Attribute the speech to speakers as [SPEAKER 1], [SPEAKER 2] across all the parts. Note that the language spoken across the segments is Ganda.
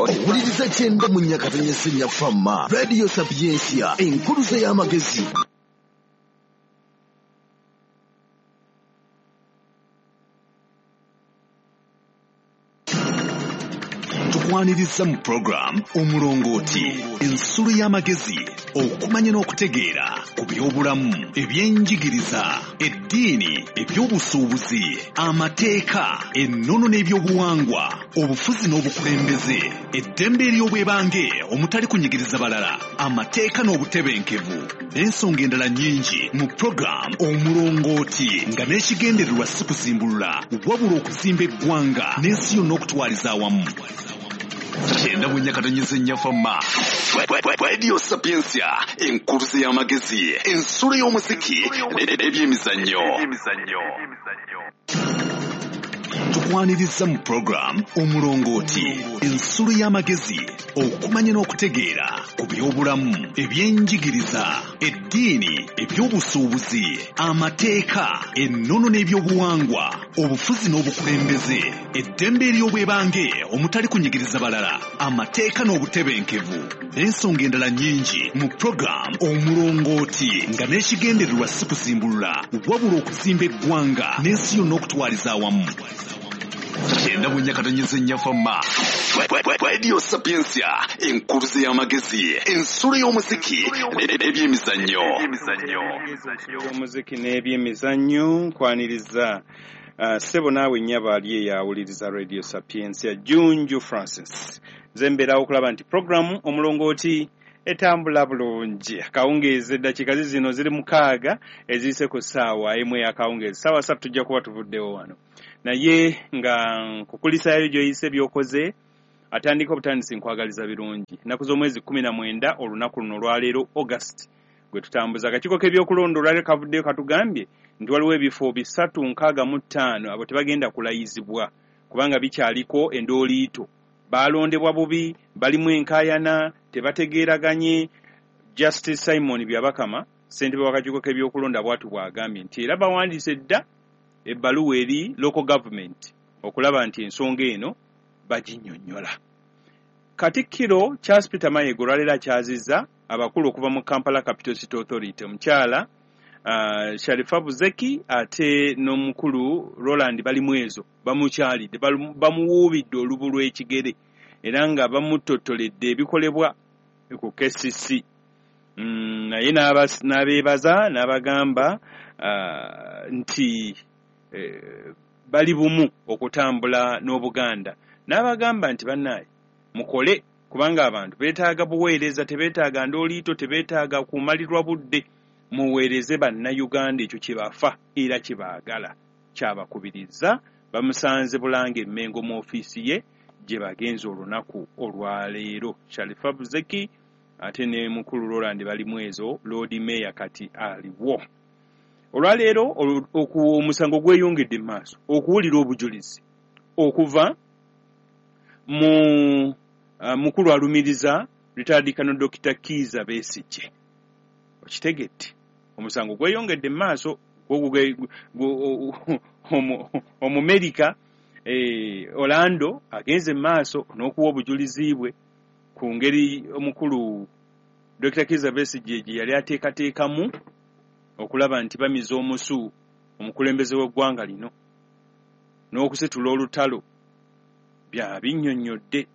[SPEAKER 1] Owuliriza 94.4 Fama Radio Sapientia, enkuluze y'amagezi. Tukwaniriza mu program Omulongooti, ensulo y'amagezi, okumanya n'okutegeera ku by'obulamu, ebyenjigiriza, eddiini, ebyobusuubuzi, amateeka, ennono n'ebyobuwangwa, obufuzi n'obukulembeze, eddembe ery'obwebange omutali kunyigiriza balala, amateeka n'obutebenkevu, n'ensonga endala nnyingi mu program Omulongooti, nga n'ekigendererwa si kuzimbulula wabula okuzimba eggwanga n'ensi yonna okutwaliza awamu. 94.4 Fama Radio Sapientia, enkuluze y'amagezi, ensulo y'omuziki n'ebyemizannyo. Tukwaniriza mu program Omulongooti, ensulo y'amagezi, okumanya n'okutegeera ku by'obulamu, ebyenjigiriza, eddiini, ebyobusuubuzi, amateeka, ennono n'ebyobuwangwa, obufuzi n'obukulembeze, eddembe ery'obwebange omutali kunyigiriza balala, amateeka n'obutebenkevu, n'ensonga endala nnyingi mu program Omulongooti, nga n'ekigendererwa si kuzimbulula wabula okuzimba eggwanga n'ensi yonna okutwaliza awamu. 94.4 Fama Radio Sapientia, enkuluze y'amagezi, ensulo y'omuziki n'ebyemizannyo.
[SPEAKER 2] Omuziki n'ebyemizannyo, nkwaniriza ssebo naawe nnyabo ali eyawuliriza Radio Sapientia, Junju Francis. Nze mbeerawo okulaba nti programu Omulongooti etambula bulungi. Akawungeezi eddakiika zino ziri 6 eziyise ku ssaawa 1 ey'akawungeezi. Ssaawa 3 tujja kuba tuvuddewo wano. Naye nga nkukulisaayo gy'oyise by'okoze, atandika obutandisi nkwagaliza birungi. Ennaku z'omwezi 19 olunaku luno olwaleero August gwe tutambuza. Akakiiko k'ebyokulonda olwaleero kavuddeyo katugambye nti waliwo ebifo 365 abo tebagenda kulayizibwa kubanga bikyaliko endooliito. Baalondebwa bubi, balimu enkaayana, tebategeeraganye. Justice Simon Byabakama, ssentebe w'akakiiko k'ebyokulonda bw'atyo bw'agambye nti era bawandiise dda ebbaluwa eri local government okulaba nti ensonga eno baginnyonnyola. Katikkiro Charles Peter Mayiga olwaleero akyazizza abakulu okuva mu Kampala Capital City Authority, omukyala Sharifa Buzeki ate n'omukulu Roland Balimwezo bamukyalidde, bamuwuubidde olubu lw'ekigere era nga bamuttottoledde ebikolebwa ku KCC. Naye n'abeebaza n'abagamba nti bali bumu okutambula n'Obuganda, n'abagamba nti bannaaye mukole kubanga abantu beetaaga buweereza, tebeetaaga ndooliito, tebeetaaga kumalirwa budde, muweereze bannayuganda ekyo kye bafa era kye baagala. Kyabakubiriza bamusanze Bulange Mmengo mu ofiisi ye gye bagenze olunaku olwaleero. Sharifa Buzeki ate ne mukulu Roland Balimwezo, Lord Mayor kati aliwo. Olwaleero omusango gweyongedde mu maaso okuwulira obujulizi okuva mu mukulu alumiriza retired Colonel Dr. Kiiza Besigye. Okitegedde, omusango gweyongedde mu maaso. Omumerika Orlando agenze mu maaso n'okuwa obujulizi bwe ku ngeri omukulu Dr. Kiiza Besigye gye yali ateekateekamu okulaba nti bamiza omusu omukulembeze w'eggwanga lino n'okusitula olutalo bya binnyonnyodde.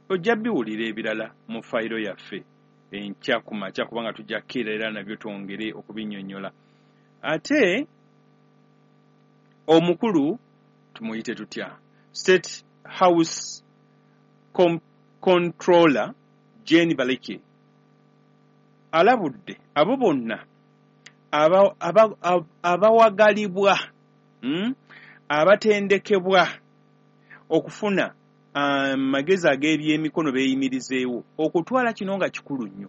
[SPEAKER 2] Ojja biwulira ebirala mu fayiro yaffe enkya ku makya kubanga tujja kukeera era nabyo twongere okubinnyonnyola. Ate omukulu tumuyite tutya, State House Controller Jane Baleke alabudde abo bonna abawagalibwa abatendekebwa okufuna amagezi ag'ebyemikono beeyimirizeewo okutwala kino nga kikulu nnyo.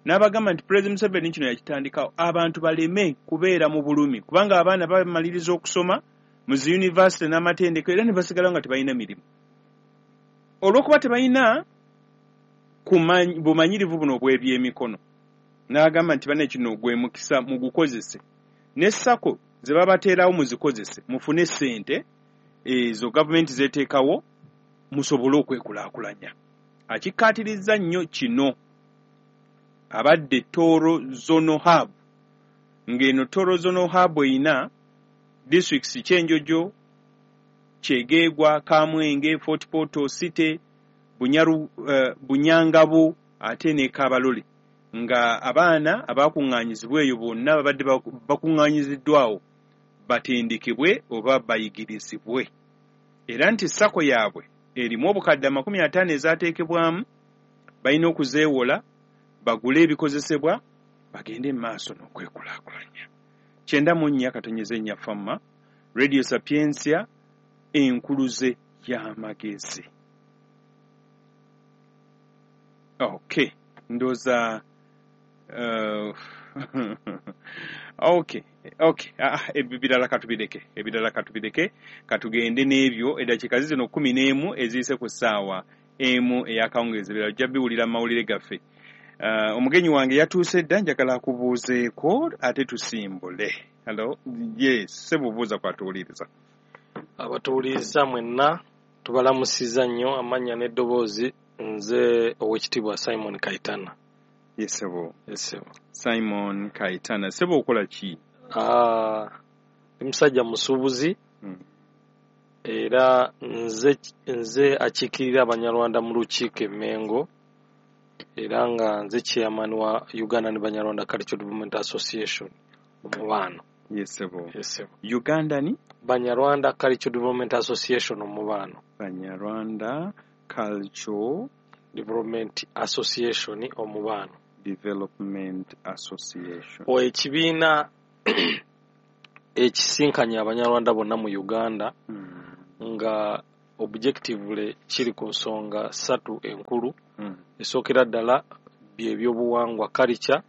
[SPEAKER 2] N'abagamba nti Pulezidenti Museveni kino yakitandikawo abantu baleme kubeera mu bulumi kubanga abaana bamaliriza okusoma mu zi yunivasite n'amatendekero era ne basigala nga tebalina mirimu olw'okuba tebalina bumanyirivu buno obw'ebyemikono. N'agamba nti banne kino gwe mukisa mugukozese, ne SACCO ze babateerawo muzikozese mufune ssente ezo gavumenti zeeteekawo musobole okwekulaakulanya. Akikkaatirizza nnyo kino abadde Toro Zonal Hub, ng'eno Toro Zonal Hub eyina districts Kyenjojo, Kyegegwa, Kamwenge, Fort Portal City, Bunyangabu ate ne Kabalole, nga abaana abakuŋŋaanyizibwa eyo bonna babadde bakuŋŋaanyiziddwawo batendekebwe oba bayigirizibwe, era nti SACCO yaabwe erimu obukadde 50 ezaateekebwamu, balina okuzeewola bagule ebikozesebwa bagende mu maaso n'okwekulaakulanya. 94.4 Fama Radio Sapientia, enkuluze y'amagezi. Okay, ndowooza okay, ebirala katubireke, katugende n'ebyo. Eddakiika zino 11 eziyise ku ssaawa 1 ey'akawungeezi, ebirala ojja biwulira mu mawulire gaffe. Omugenyi wange yatuuse dda, njagala akubuuzeeko ate tusimbule. Hello, yes, ssebuubuuza kwatuwuliriza.
[SPEAKER 3] Abatuwuliriza mwenna tubalamusiza nnyo, amannya n'eddoboozi. Nze Oweekitiibwa Simon Kaitana.
[SPEAKER 2] Yes, ssebo. Simon Kaitana, ssebo okola ki?
[SPEAKER 3] Ndi musajja musuubuzi, era nze akiikirira Abanyarwanda mu lukiiko e Mmengo, era nga nze chairman wa Uganda ne Banyarwanda Cultural Development Association Omubaano.
[SPEAKER 2] Yes, ssebo. Uganda ni
[SPEAKER 3] Banyarwanda Cultural Development Association Omubaano.
[SPEAKER 2] Banyarwanda Cultural
[SPEAKER 3] Development Association Omubaano.
[SPEAKER 2] Development Association.
[SPEAKER 3] Ekibiina ekisinkanya Abanyarwanda bonna mu Uganda, nga objectively kiri ku nsonga 3 enkulu. Esookera ddala byebyobuwangwa, culture.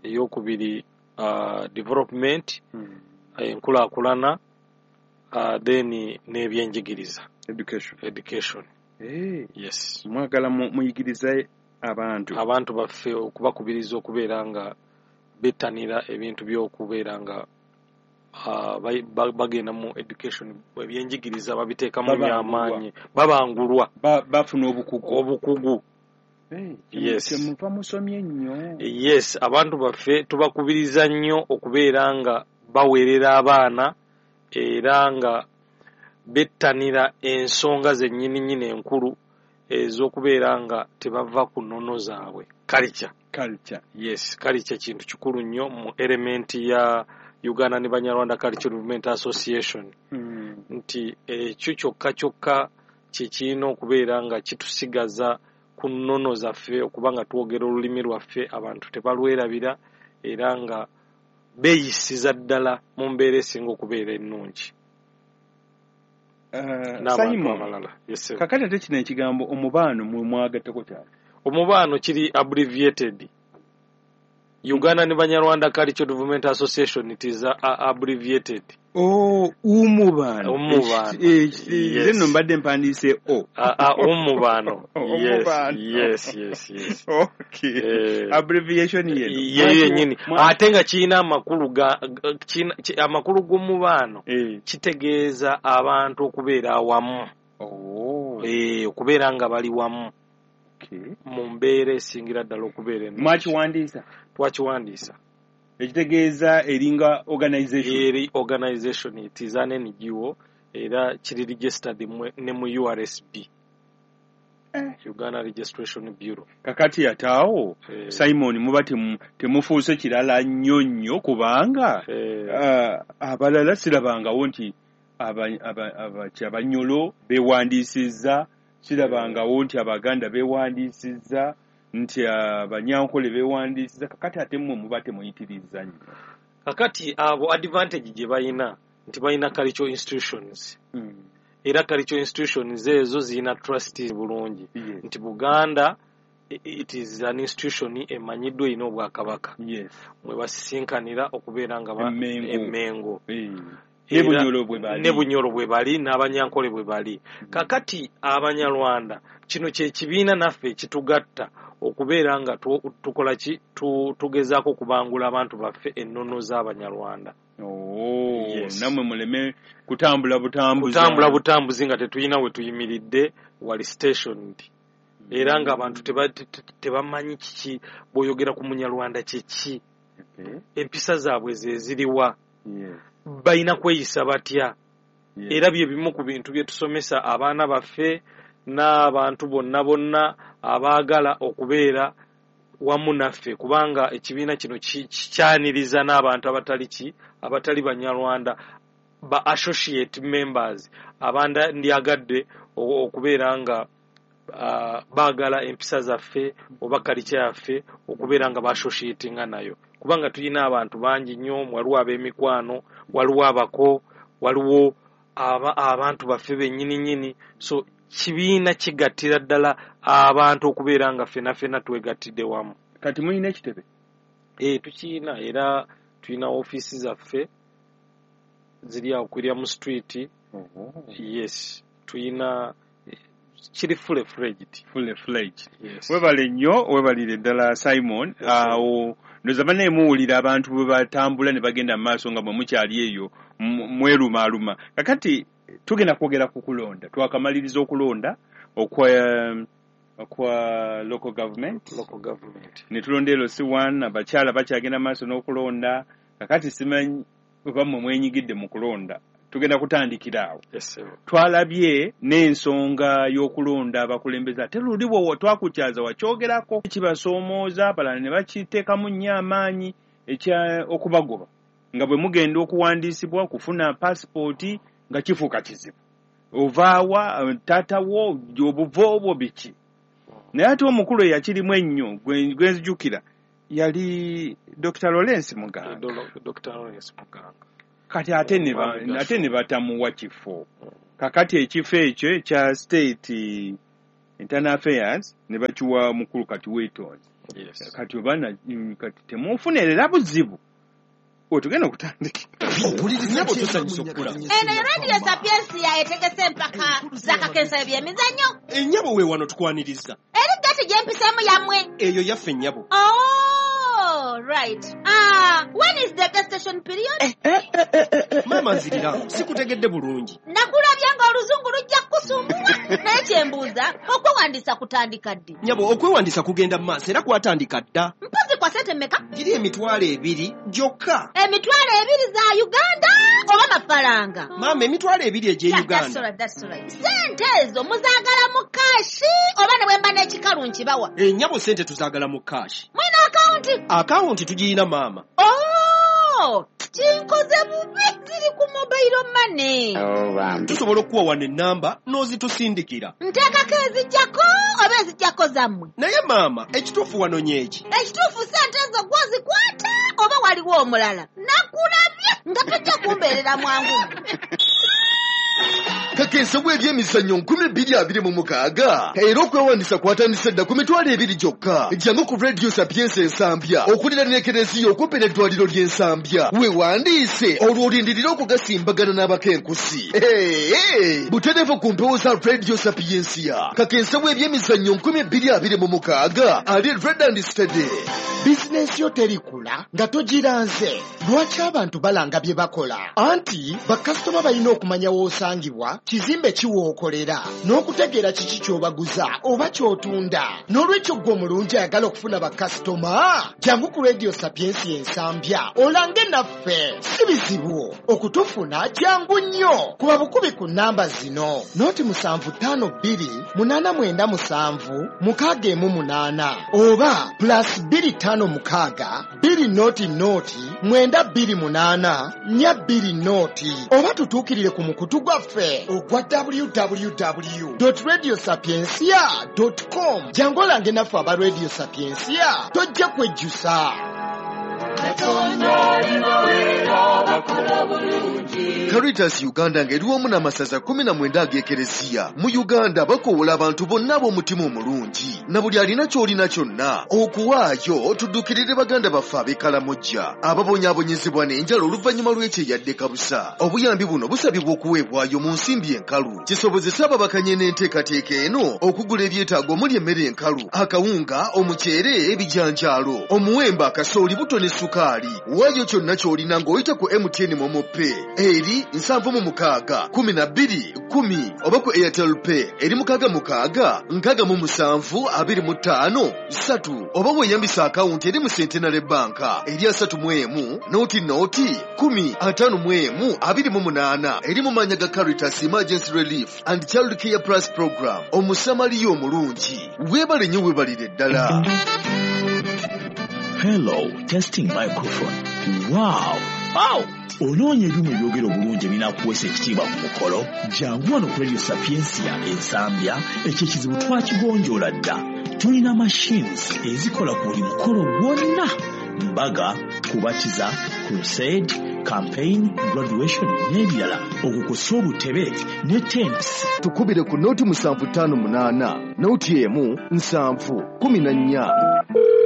[SPEAKER 3] Eyokubiri development, enkulaakulana, then n'ebyenjigiriza, education. Yes.
[SPEAKER 2] Mwagala muyigirize abantu
[SPEAKER 3] baffe, okubakubiriza okubeera nga bettanira ebintu by'okubeera nga bagenda mu education, ebyenjigiriza babiteekamu nnyo amaanyi, babangulwa,
[SPEAKER 2] bafuna obukugu.
[SPEAKER 3] Yes.
[SPEAKER 2] Muva musomye nnyo.
[SPEAKER 3] Yes, abantu baffe tubakubiriza nnyo okubeera nga baweerera abaana, era nga bettanira ensonga zennyini nnyini enkulu ez'okubeera nga tebava ku nnono zaabwe. Culture. Yes, culture kintu kikulu nnyo mu element ya Uganda ne Banyarwanda Cultural Development Association. Nti ekyo kyokka kyokka kye kirina okubeera nga kitusigaza ku nnono zaffe, okuba nga twogera olulimi lwaffe, abantu tebalwerabira, era nga beeyisiza ddala mu mbeera esinga okubeera ennungi.
[SPEAKER 2] Simon, kakati ate kino ekigambo omubaano mwagattako kyali?
[SPEAKER 3] Omubaano kiri abbreviated. Uganda ne Banyarwanda Cultural Development Association, it is abbreviated.
[SPEAKER 2] Oh, umubaano. Nze nno mbadde mpandiise o.
[SPEAKER 3] Umubaano. Yes.
[SPEAKER 2] Okay. Abbreviation yeno.
[SPEAKER 3] Ye yennyini. Ate nga kirina amakulu amakulu g'omubaano kitegeeza abantu okubeera awamu. Okubeera nga bali wamu. Mu mbeera esingira ddala okubeera ennungi.
[SPEAKER 2] Mwakiwandiisa?
[SPEAKER 3] Twakiwandiisa.
[SPEAKER 2] Ekitegeeza eringa organization.
[SPEAKER 3] Eri organization, it is an NGO, era kiri registered ne mu URSB. Uganda Registration Bureau.
[SPEAKER 2] Kakati ataawo Simon muba temufuuse kirala nnyo nnyo, kubanga abalala sirabangawo nti Abanyolo beewandiisizza, sirabangawo nti Abaganda beewandiisizza, nti Abanyankole beewandiisizza. Kakati ate mmwe muba temuyitiriza nnyo.
[SPEAKER 3] Kakati abo advantage gye balina nti balina cultural institutions. Era cultural institutions ezo zirina trustees bulungi. Nti Buganda it is an institution emanyiddwa erina obwakabaka. Mwe basisinkanira okubeera nga Emmengo. Ne Bunyoro bwe bali, n'Abanyankole bwe bali. Kakati Abanyarwanda kino kye kibiina naffe kitugatta okubeera nga tukola ki, tugezaako okubangula abantu baffe ennono z'Abanyarwanda.
[SPEAKER 2] Oh,
[SPEAKER 3] Yes.
[SPEAKER 2] nammwe muleme kutambula butambuzi.
[SPEAKER 3] Kutambula butambuzi nga tetulina we tuyimiridde wali stationed, era ng'abantu tebamanyi kiki bw'oyogera ku Munyarwanda kyeki, empisa zaabwe ze ziriwa, balina kweyisa batya. Era bye bimu ku bintu bye tusomesa abaana baffe n'abantu bonna bonna abaagala okubeera wamu naffe, kubanga ekibiina kino kikyaniriza n'abantu abatali ki, abatali Banyarwanda, ba associate members abandyagadde okubeera nga baagala empisa zaffe oba kalica yaffe, okubeera nga baassociatinga nayo, kubanga tulina abantu bangi nnyo. Waliwo ab'emikwano, waliwo abako, waliwo abantu baffe bennyini nnyini. So kibiina kigattira ddala abantu okubeera nga ffena ffena twegattidde wamu.
[SPEAKER 2] Kati mulina ekitebe?
[SPEAKER 3] Tukiyina, era tulina ofiisi zaffe ziri awo ku William Street. Yes, tuyina, kiri fully fledged.
[SPEAKER 2] Fully fledged.
[SPEAKER 3] Yes.
[SPEAKER 2] Webale nnyo, webalire ddala Simon.
[SPEAKER 3] Yes,
[SPEAKER 2] Awo ndowooza bannaye muwulira abantu bwe batambula ne bagenda mu maaso nga bwe mukyali eyo mwerumaaluma. Kakati tugenda kwogera ku kulonda. Twakamaliriza okulonda okwa local government.
[SPEAKER 3] Local government.
[SPEAKER 2] Ne tulonda LC1, abakyala bakyagenda maaso n'okulonda. Kakati simanyi oba mmwe mwenyigidde mu kulonda. Tugenda kutandikira awo.
[SPEAKER 3] Yes, sir.
[SPEAKER 2] Twalabye n'ensonga y'okulonda abakulembeze, ate luli bwe twakukyaza wakyogerako kibasoomooza, abalala ne bakiteekamu nnyo amaanyi ekya okubagoba nga bwe mugenda okuwandiisibwa okufuna paasipooti nga kifuuka kizibu, ovaawa taata wo, obuvo obwo biki. Naye ate omukulu eyakirimu ennyo gwe nzijukira yali Dr. Lawrence Muganga.
[SPEAKER 3] Dr. Lawrence Muganga.
[SPEAKER 2] Kati ate ate ne batamuwa kifo. Kakati ekifo ekyo ekya state internal affairs ne bakiwa mukulu kati Weetonzi.
[SPEAKER 3] Yes.
[SPEAKER 2] Kati oba kati temufunerera buzibu wetugenda okutandikira.
[SPEAKER 1] Owuliriza.
[SPEAKER 4] Nnyabo, tusanyusa okukulaba.
[SPEAKER 5] Eno ye Radio Sapiensia etegese empaka z'akakensa ebyemizannyo.
[SPEAKER 4] Ennyabo, we wano tukwaniriza.
[SPEAKER 5] Eri gati gyempiseemu yammwe?
[SPEAKER 4] Eyo yaffe, nnyabo.
[SPEAKER 5] Oh, right. Ah, when is the gestation period?
[SPEAKER 4] Maama, nzirira, sikutegedde bulungi.
[SPEAKER 5] Nakulabye ng'oluzungu lujja kukusumbuwa, naye kyembuuza, okwewandiisa kutandika ddi?
[SPEAKER 4] Nnyabo, okwewandiisa kugenda mu maaso era kwatandika dda.
[SPEAKER 5] Mpozi kwa sente mmeka?
[SPEAKER 4] Giri 20,000 gyokka.
[SPEAKER 5] 20,000 za Uganda oba mafaranga?
[SPEAKER 4] Maama, 20,000 egy'e
[SPEAKER 5] Yeah, that's
[SPEAKER 4] Uganda.
[SPEAKER 5] all right, that's all right. Sente ezo muzaagala mu cash oba ne bwe mba n'ekikalu nkibawa?
[SPEAKER 4] Ennyabo, sente tuzaagala mu cash.
[SPEAKER 5] Mulina akawunti?
[SPEAKER 4] Akawunti tugiyina, maama.
[SPEAKER 5] Oh, kinkoze bubi, ziri ku mobile money.
[SPEAKER 4] Tusobola okuwa wano ennamba n'ozitusindikira.
[SPEAKER 5] Nteekako ezijjako oba ezijjako zammwe?
[SPEAKER 4] Naye maama, ekituufu wano nyeeki.
[SPEAKER 5] Ekituufu sente ezo gwozikwata oba waliwo omulala? Nakulabye nga tojja kumbeerera mwangu.
[SPEAKER 6] Kakensa w'ebyemizannyo 2026, era okwewandisa kwatandise dda ku 20,000 gyokka. Jangu ku Radio Sapiensia Ensambya okuliraana ekereziya okumpi n'eddwaliro ly'Ensambya, weewandiise olwo olindirire okugasimbagana n'abakenkusi. Hey, butereevu ku mpewo za Radio Sapiensia. Kakensa w'ebyemizannyo 2026 ali ready and steady.
[SPEAKER 7] Bizinensi yo terikula nga togiranze. Lwaki abantu balanga bye bakola? Anti bakasitoma balina okumanya w'osangibwa, kizimbe kiwookolera, n'okutegeera kiki ky'obaguza oba ky'otunda. N'olwekyo ggwe omulungi ayagala okufuna bakasitoma, jangu ku Radio Sapiensia Ensambya olange naffe. Si bizibu okutufuna, jangu nnyo. Kuba bukubi ku nnamba zino: 075 289 796 oba +256 200 928 420, oba tutuukirire ku mukutu gwaffe ogwa www.radiosapiencia.com. Jangu olange naffe aba Radio Sapiensia, tojja kwejjusa.
[SPEAKER 6] Caritas Uganda ng'eri wamu n'amasaza 19 ag'ekereziya mu Uganda bakoowola abantu bonna ab'omutima omulungi na buli alina ky'olina kyonna okuwaayo tuddukirire baganda baffe ab'e Kalamojja ababonyaabonyezebwa n'enjala oluvannyuma lw'ekyeyadde kabusa. Obuyambi buno busabibwa okuweebwayo mu nsimbi enkalu kisobozese ababakanye n'enteekateeka eno okugula ebyetaago omuli emmere enkalu, akawunga, omuceere, ebijanjaalo, omuwemba, akasooli, buto ne sukaali. sukaali. Waayo kyonna ky'olina ng'oyita ku MTN MoMo Pay eri 76 12 10 oba ku Airtel Pay eri 66 67 25 3 oba weeyambisa akawunti eri mu Centenary Bank eri 31 0 0 10 51 28 eri mu mannya ga Caritas Emergency Relief and Child Care Plus Program. Omusamaliya omulungi, weebale nnyo, weebalire ddala.
[SPEAKER 8] Hello, testing microphone. Wow! Wow! Onoonya ebyuma ebyogera obulungi ebinaakuweesa ekitiibwa ku mukolo? Jangu wano ku Radio Sapientia Ensambya, ekyo ekizibu twakigonjoola dda. Tulina machines ezikola ku buli mukolo gwonna: mbaga, kubatiza, crusade, campaign, graduation n'ebirala, okwo kw'ossa obutebe ne tents.
[SPEAKER 6] Tukubire ku 0 758 0 1 7 14.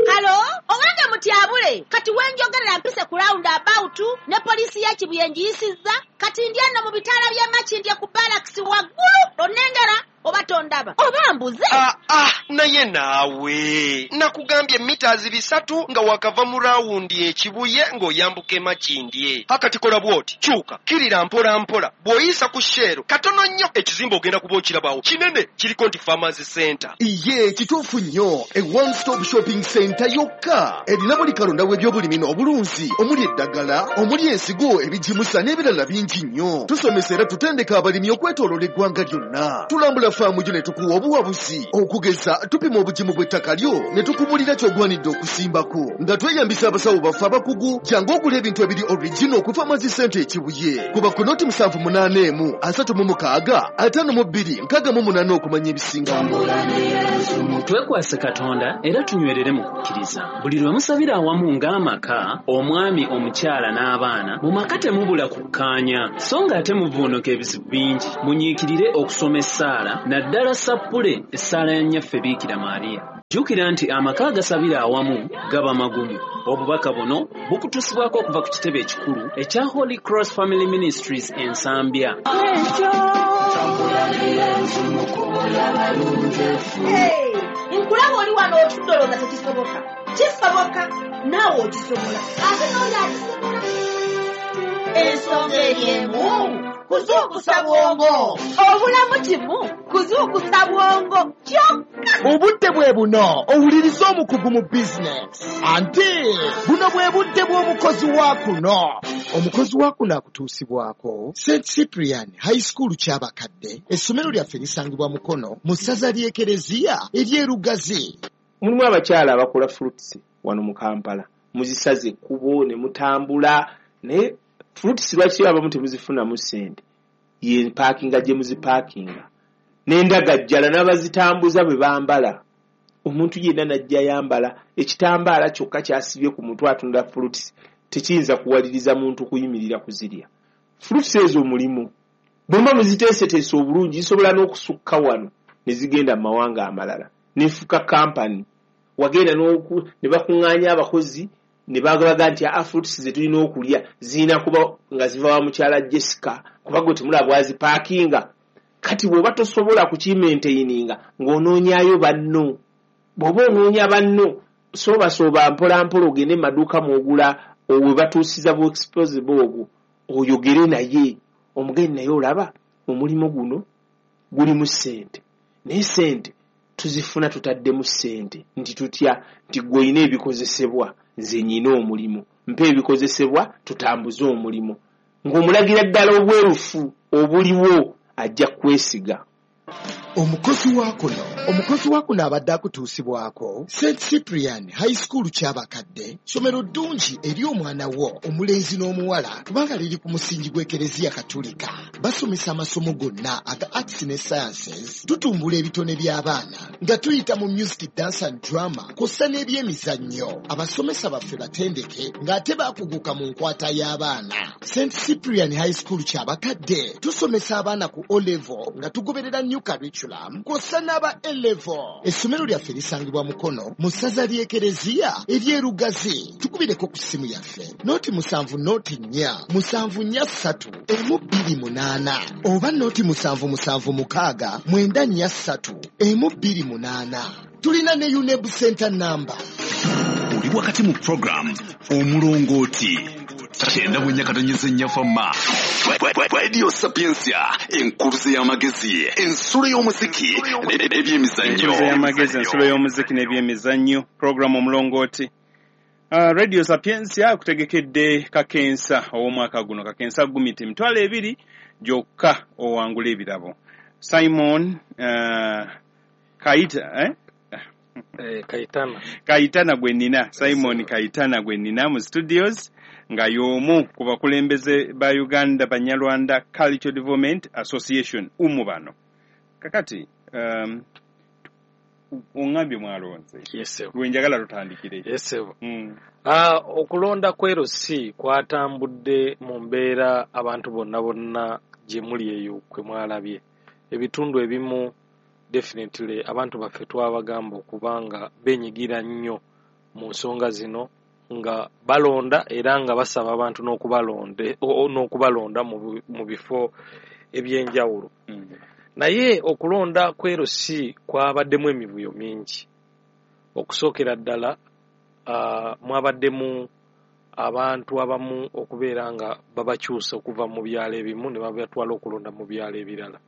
[SPEAKER 5] Hello, owange mutyabule, kati wenjogerera mpise ku round about ne poliisi ya Kibuye ngiyisizza, kati ndi eno mu bitaala by'e Makindye ku barracks waggulu, onnengera oba tondaba oba mbuze?
[SPEAKER 4] Ah, ah, naye naawe nakugambye mita 300 nga wakava mu rawundi ekibuye ng'oyambuka emakindye. Akati kola bw'oti, kyuka kirira mpola mpola, bw'oyisa ku Shell katono nnyo, ekizimbe ogenda kuba okirabawo kinene, kiriko nti Farmers Center.
[SPEAKER 6] Iye, kituufu nnyo. E one stop shopping center yokka erina buli kalonda w'ebyobulimi n'obulunzi, omuli eddagala, omuli ensigo, ebigimusa n'ebirala bingi nnyo. Tusomesa era tutendeka abalimi okwetooloola eggwanga lyonna. Tulambula faamu gyo ne tukuwa obuwabuzi. Okugeza, tupima obugimu bw'ettaka lyo ne tukubulira ky'ogwanidde okusimbako nga tweyambisa abasawo baffe abakugu. Jangu ogula ebintu ebiri original ku Farmers Center Ekibuye. Kuba ku 0 781 36 52 68 okumanya ebisingawo.
[SPEAKER 9] Twekwase Katonda era tunywerere mu kukkiriza. Buli lwe musabira awamu ng'amaka, omwami, omukyala n'abaana, mu maka temubula kukkaanya, so ng'ate muvuunuka ebizibu bingi. Munyiikirire okusoma essaala, naddala sappule essaala ya Nnyaffe Biikira Maariya. Jjukira nti amaka agasabira awamu gaba magumu. Obubaka buno bukutuusibwako okuva ku kitebe ekikulu ekya Holy Cross Family Ministries Ensambya.
[SPEAKER 5] Hey, nkulaba oli wano otudde olowooza tekisoboka. Kisoboka, naawe okisobola, ate n'oli akisobola. Ensonga eri emu, kuzuukusa bwongo. Obulamu kimu kuzuukusa bwongo kyokka.
[SPEAKER 7] Obudde bwe buno owuliriza omukugu mu bizinesi, anti buno bwe budde bw'omukozi wa kuno. Omukozi wa kuno akutuusibwako St Cyprian High School Kyabakadde. Essomero lyaffe lisangibwa Mukono mu ssaza ly'Ekereziya ery'Erugazi.
[SPEAKER 10] Mulimu abakyala abakola fruits wano mu Kampala, muzisaze ekkubo ne mutambula, naye fruits lwaki abamu temuzifunamu ssente? Ye paakinga gye muzipaakinga n'endagajjala n'abazitambuza bwe bambala. Omuntu yenna najja yambala ekitambaala kyokka kyasibye ku mutwe atunda fruits, tekiyinza kuwaliriza muntu kuyimirira kuzirya. Fruits ezo mulimu bwe muba muziteeseteese obulungi, zisobola n'okusukka wano ne zigenda mu mawanga amalala nefuka kampani. Wagenda ne bakuŋŋaanya abakozi ne bagabaga nti aa, fruits ze tulina okulya zirina kuba nga ziva wa mukyala Jessica, kuba gwe temulaba bwazipaakinga. Kati bw'oba tosobola kukimaintaininga ng'onoonyayo banno, bw'oba onoonya banno, soobasooba mpola mpola ogende mu maduuka mwogula we batuusiza bu exposable obwo, oyogere naye omugende naye olaba omulimu guno gulimu ssente, naye ssente tuzifuna tutaddemu ssente nti tutya, nti gwe olina ebikozesebwa, nze nyina omulimu, mpa ebikozesebwa tutambuze omulimu, ng'omulagira ddala obwerufu obuliwo, ajja kwesiga.
[SPEAKER 7] Omukozi wa kuno, omukozi wa kuno abadde akutuusibwako St Cyprian High School Kyabakadde. Ssomero ddungi eri omwana wo omulenzi n'omuwala kubanga liri ku musingi gw'Ekereziya Katulika. Basomesa amasomo gonna aga arts ne sciences. Tutumbula ebitone by'abaana nga tuyita mu music, dance and drama kw'ossa n'ebyemizannyo. Abasomesa baffe batendeke ng'ate bakuguka mu nkwata y'abaana. St Cyprian High School Kyabakadde tusomesa abaana ku O level nga tugoberera new curriculum kw'ossa n'aba A level. Essomero lyaffe lisangibwa Mukono mu ssaza ly'Ekereziya ery'Erugazi. Tukubireko ku ssimu yaffe 0 7 0 4 7 4 3 1 2 8 oba 0 7 7 6 9 4 3 1 2 8. Tulina ne UNEB center number.
[SPEAKER 1] Oli Wakati mu program Omulongooti 94.4 Fama Radio Sapientia, enkuluze y'amagezi, ensulo y'omuziki n'ebyemizannyo.
[SPEAKER 2] Enkuluze y'amagezi, ensulo y'omuziki n'ebyemizannyo, program Omulongooti. Radio Sapientia akutegekedde kakensa ow'omwaka guno, kakensa gumiti 20,000 gyokka owangula ebirabo. Simon Kaita,
[SPEAKER 3] Kaitana.
[SPEAKER 2] Kaitana gwe nnina, Simon Kaitana gwe nnina mu studios, nga y'omu ku bakulembeze ba Uganda Banyarwanda Cultural Development Association umu bano. Kakati ongambye mwalonze.
[SPEAKER 3] Yes sir.
[SPEAKER 2] Gwe njagala tutandikire.
[SPEAKER 3] Yes sir. Okulonda kw'erosi kwatambudde mu mbeera abantu bonna bonna gye muli eyo kwe mwalabye. Ebitundu ebimu definitely abantu baffe twabagamba okubanga benyigira nnyo mu nsonga zino nga balonda era nga basaba abantu n'okubalonda mu bifo ebyenjawulo. Naye okulonda kw'erosi kwabaddemu emivuyo mingi. Okusookera ddala mwabaddemu abantu abamu okubeera nga babakyusa okuva mu byalo ebimu ne babatwala okulonda mu byalo ebirala.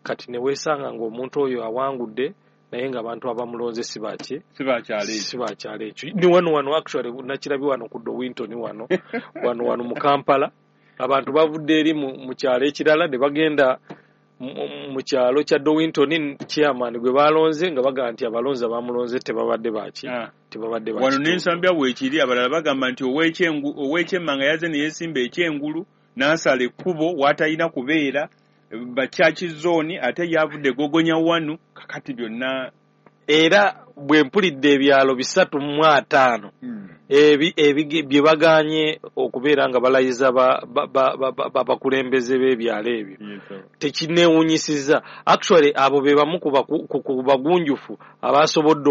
[SPEAKER 3] Kati ne weesanga ng'omuntu oyo awangudde naye ng'abantu abamulonze si baki?
[SPEAKER 2] Si bakyalo ekyo.
[SPEAKER 3] Si bakyalo ekyo. Ni wano actually nakirabye wano ku Dowinton wano wano mu Kampala abantu bavudde eri mu kyalo ekirala ne bagenda mu kyalo kya Dowinton chairman gwe balonze nga bagamba nti abalonzi abamulonze tebabadde baki? Tebabadde baki.
[SPEAKER 2] Wano n'ensambya bwekiri abalala bagamba nti ow'ekyemmanga yaze ne yeesimba ekyengulu n'asala ekkubo w'atalina kubeera bakyaki zone ate yavudde gogonya wanu kakati byonna.
[SPEAKER 3] Era bwe mpulidde ebyalo 305 bye baganye okubeera nga balayiza bakulembeze b'ebyalo ebyo tekineewuunyisizza. Actually abo be bamu ku bagunjufu abasobodde